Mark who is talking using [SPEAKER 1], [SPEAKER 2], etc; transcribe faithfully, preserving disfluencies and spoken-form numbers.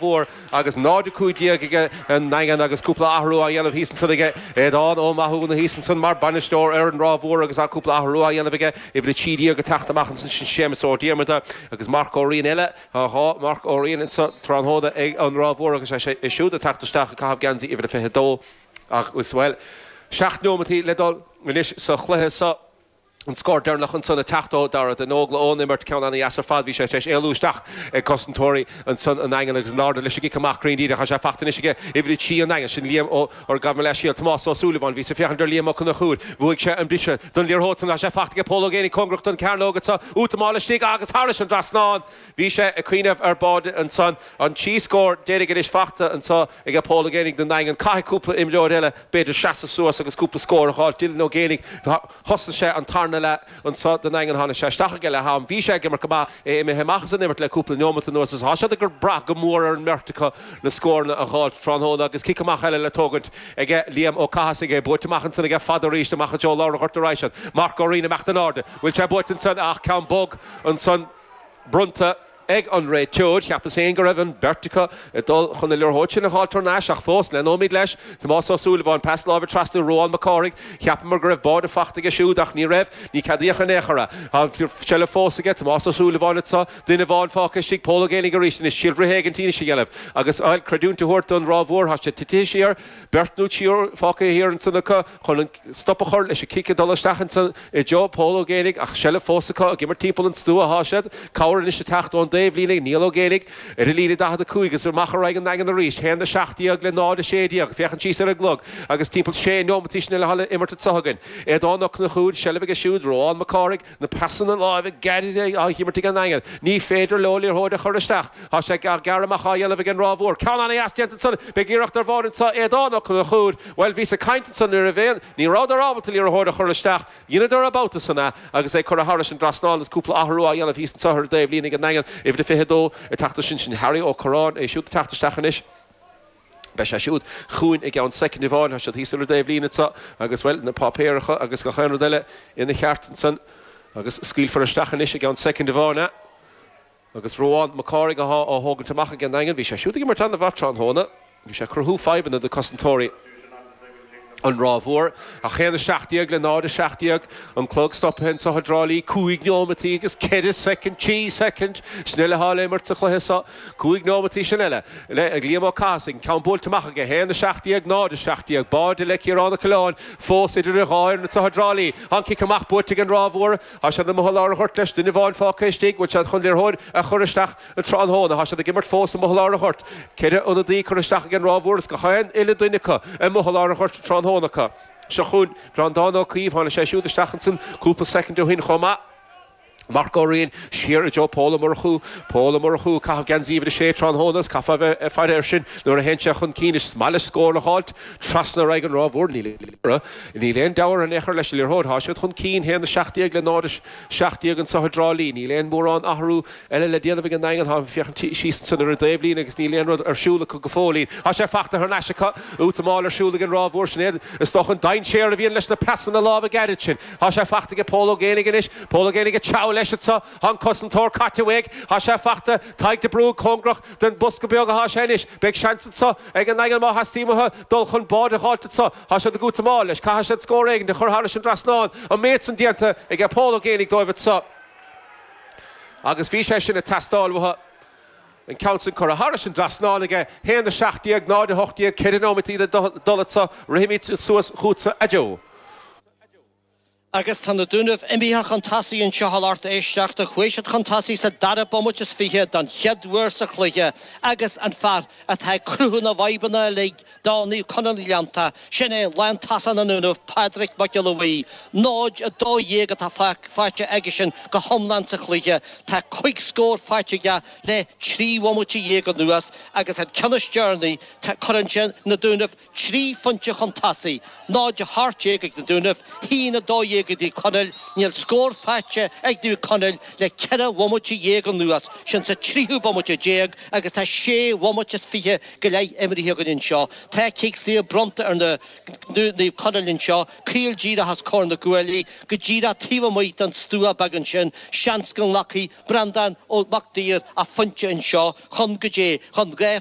[SPEAKER 1] Mhór agus náid a cúig déag ag an nDaingean agus cúpla athrú á dhéanamh thíos ansan aige Aodán Ó Mathúna thíos ansan mar bainisteoir ar an Ráth Mhór agus cúpla athrú á dhéanamh aige uimhir a trí déag ag teacht amach ansan sin Séamus Ó Diarmada agus Marc Ó Riain eile tá dhá Marc Ó Riain anso tráthnóna ag an Ráth Mhór agus é siúd ag teacht isteach ag caitheamh geansaí uimhir a fiche dó agus bhuel seacht nóimeataí le dul anois sa chluiche seo. An scór deireanach ansan ag teacht ó Dara den Ógla ón imirt ceann an-dheas ar fad. Bhí sé tar éis éalú isteach ag cosantóirí ansan an Daingin agus in airde leis an gcic amach cruinn díreach. Tá sé faighte anois aige uimhir a trí an Daingin. Sin Liam Ó or gabh mo leithscéal Tomás Ó Súilleabháin. Bhíos ag féachaint ar Liam Ó Conchúir. Bhuaigh sé an briseadh don liathróid san. Tá sé faighte aige Pól Ó Géibheannaigh cóngarach don chearnóg anso. Útamáil istigh agus thairis an dtrasnán. Bhí sé ag cuimhneamh ar bháide ansan. An trí scór deiridh anois faighte anso aige Pól Ó Géibheannaigh don Daingean. Caithfidh cúpla imreoir eile b'fhéidir seasamh suas agus cúpla scór a fháil. Dylan Ó Géibheannaigh, thosaigh sé an tarna leath anso don Daingean, tháinig sé isteach ag leath am. Bhí sé ag imirt go maith, é imithe amach as an imirt le cúpla neomat anuas is tá siad ag brath go mór ar an mbeirt acu na scóranna a dh'fháilt tráthnóna agus cic amach eile le tógaint aige Liam Ó Cathasaigh, é buaite amach ansan aige fada arís amach i dtreo lár an ghoirt ar aghaidh siad. Marc Ó Riain imeacht in airde. Bhfuil sé buaite ansan ach ceann bog ansan bronnta ag an réiteoir. Cheapas féin go raibh an bheirt acu ag dul chun na liathróid sin a dh'fháilt thar n-ais ach fós, leanóimid leis. Tomás Ó Súilleabháin, pas láimhe trasna Ruán Mac Cárthaigh. Cheapamar go raibh báide faighte aige siúd ach ní raibh. Ní ceadaíodh in aon chor é. Tá an tseilbh fós aige Tomás Ó Súilleabháin anso. Duine amháin fágtha istigh, Pól Ó Géibheannaigh arís anois. Triail rith éigin anois a dhéanamh agus creidiúint a thabhairt don Ráth Mhór. Tá siad titithe siar. Beirt nó triúr fágtha thiar ansan acu chun an stop a chur leis an cic ag dul isteach ansan i dtreo Pól Ó Géibheannaigh ach seilbh fós acu ag imirt timpeall an stua atá siad. Cabhair anois ag teacht ón dtaobhlíne ag Niall Ó Géibheannaigh ar an líne daichead a cúig agus amach ar aghaidh an Daingean arís. Haon a seacht déag le náid a sé déag. Féachaint síos ar an gclog agus timpeall sé neomataí sin eile atá le imirt anso againn. Aodán Ó Conchúir, seilbh aige siúd, Ruán Mac Cárthaigh, na pasanna láimhe gairide á himirt ag an nDaingean. Ní féidir leo liathróid a chur isteach. Tá sé gearradh amach á dhéanamh ag an Ráth Mhór. Ceann an-dheas déanta ansan. Beidh iarracht ar bháide anso. Aodán Ó Conchúir. Bhuel, bhíos ag caint ansan nuair a bhí. Ní rabhadar ábalta liathróid a chur isteach. Dheineadar an babhta san é agus é curtha thairis an dtrasnán agus cúpla athrú á dhéanamh thíos anso ar an dtaobhlíne ag an nDaingean. Uimhir a fiche dó ag teacht ansin sin Harry Ó Curráin, é siúd ag teacht isteach anois. Beidh sé siúd chugainn i gceann soicind amháin. Tá siad thíos ar an dtaobhlíne anso agus, bhuel, na páipéaracha agus gach aon rud eile ina cheart ansan agus scaoilfear isteach anois i gceann soicind amháin é. Agus Ruán Mac Cárthaigh atá á thógaint amach ag an nDaingean. Bhí sé siúd ag imirt an-mhaith tráthnóna. Bhí sé ag cruthú fadhbanna do cosantóirí an Ráth Mhór. Ach haon a seacht déag le náid a seacht déag, an clog stoptha anso i dTrá Lí, cúig neomataí agus ceithre soicind, trí soicind, sin eile atá le imirt sa chluiche seo, cúig neomataí sin eile le ag Liam Ó Cathasaigh, an ceann buailte amach aige, haon a seacht déag, náid a seacht déag, báide le Ciarán Ó Coileáin fós idir an dhá fhoireann anso i dTrá Lí. Tá an cic amach buaite ag an Ráth Mhór. Tá siad amuigh i lár an ghoirt leis, duine amháin fágtha istigh, bhfuil siad chun liathróid a chur isteach an tráthnóna? Tá siad ag imirt fós amuigh i lár an ghoirt. Ceithre ionadaí curtha isteach ag an Ráth Mhór is gach aon uile duine acu amuigh i lár an ghoirt an tráthnóna acu. Seo chugainn Breandán Ó Caoimh, tháinig sé siúd isteach ansan cúpla soicind ó shin chomh maith. Marc Ó Riain siar i dtreo Pól Ó Murchú. Pól Ó Murchú ag caitheamh geansaí uimhir a sé tráthnóna is caithfear a bheith ag faire air sin nuair a théann sé chun cinn. Is maith leis scór a dh'fháilt trasna ar aghaidh an Ráth Mhór. Níl aon deabhadh in aon chor leis an liathróid. Tá siad chun cinn, haon a seacht déag le náid a seacht déag anso i dTrá Lí. Níl aon mórán athrú eile le déanamh ag an nDaingean. Táim ag féachaint síos ansan ar an dtaobhlíne agus níl aon rud ar siúl acu go fóillín. Tá sé fachta thar n-ais acu. Útamáil ar siúl ag an Ráth Mhór. Sin é, is dócha, an dainséar a bhíonn leis na pasanna láimhe gairid sin. Tá sé fachta aige Pól Ó Géibheannaigh anois. Pól Ó Géibheannaigh ag treabhadh leis anso. Tá an cosantóir caite uaidh. Tá sé fachta. Tadhg de Brún cóngarach don bosca beag atá sé anois. Beidh seans anso ag an nDaingean má theastaíonn uathu dul chun báide a dh'fháilt anso. Tá siad ag útamáil leis. Caithfidh siad scór éigin a chur thairis an dtrasnán. An méid san déanta aige Pól Ó Géibheannaigh dóibh anso. Agus bhí sé sin ag teastáil uathu. An ceann san curtha thairis an dtrasnán aige. Haon a seacht déag, náid a hocht déag, ceithre nóimeataí le dul anso. Rithimid suas chughatsa a Joe.
[SPEAKER 2] Agus tá na Dúnaibh imithe chun tosaigh anseo a lucht éisteachta. Chuaigh siad chun tosaigh sa dara bomaite is fiche don chéad uair sa chluiche agus an fear atá ag cruthú na bhfadhbanna uilig do Naomh Conaill na nGleannta, sin é lántosach na nDúnaibh, Pádraig Mac Giolla Bhuí. Náid a dó dhéag atá faighte aigesean go hiomlán sa chluiche. Tá cúig scór faighte aige le trí bhomaite dhéag anuas agus an ceann is deireanaí, cuireann sé na Dúnaibh trí phointe chun tosaigh, náid a hocht déag ag na Dúnaibh, haon a dó dhéag déag ag Naomh Conaill. Níl scór faighte ag Naomh Conaill le ceithre bhomaite dhéag anuas, sin sa tríú bomaite déag agus tá sé bhomaite is fiche go leith imeartha againn anseo. Tá cic saor bronnta ar na Naomh Conaill anseo, caol díreach os comhair na gcuaillí, go díreach taobh amuigh den stua beag ansin, seans go nglacfaidh Breandán Ó Mac Duibhir a phointe anseo chun go dté chun dhá